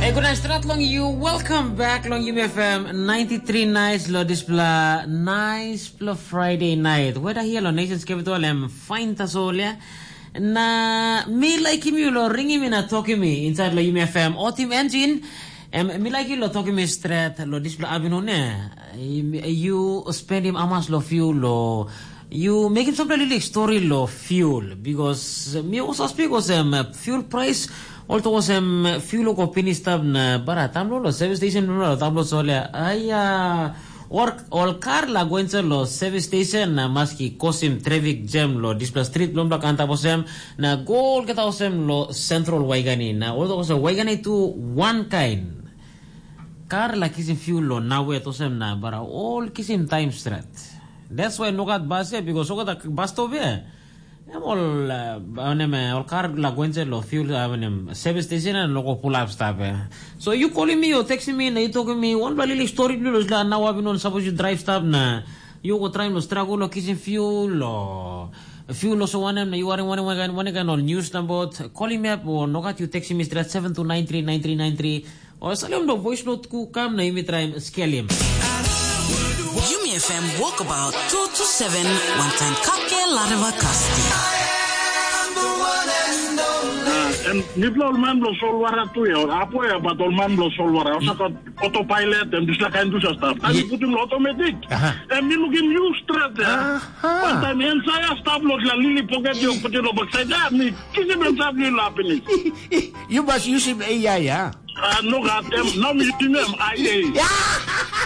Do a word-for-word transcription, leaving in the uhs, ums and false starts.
Hey, good night, strat long you. Welcome back long Yumi F M ninety-three nights lo dispela nice pla Friday night. Weda here lo Nations Capital em fine tasol ya. Na mi like him you lo ringing mi na talking mi inside lo Yumi F M. Otim engine. Em mi like you lo talking mi straight lo dispela abino ne. You spend him amas lo few lo You mekim sampela lilik stori lo fuel, because mi also speak osem fuel price, also osem fuel go finish stap na bara tam lo service station lo tam lo solia. Aya, or ol kar la go inside lo service station na maski kosim traffic jam lo dispela street lo blak antap osem na gol keta osem lo central Waigani na also osem Waigani tu one kind. Kar la kisim fuel lo nawet osem na bara ol kisim time stret. That's why no gat bus ya because so gat bus stop ya. Em ol uh, anem eh, ol kar la gwense lo fuel anem service station and logo pull up stop ya. So you calling me or texting me na you talking me one bali story dulu la now abi non suppose you drive stop na you go try lo struggle lo kisim fuel lo fuel lo so wanem na you are one one one one all news number calling me up or no gat you texting me straight seven two nine three nine three nine three. O salim do voice note ku kam na imi traim skelim. Yumi F M Walkabout two two seven, one time kake lareva kasti. Em nipla ol man bilong solwara tu ya, ol apo ya, bat ol man bilong solwara, ol saka autopilot, em dispela kain tu sa stap. Taim mi putim lo automatic, em mi lukim yu stret ya. Wantaim en saya stap lo la lili poket yo putim lo baksait ya, mi kisim en sa lili la pinis. You must use him A I, ya. Ah, no gat em, no mi yutim em, ai ei.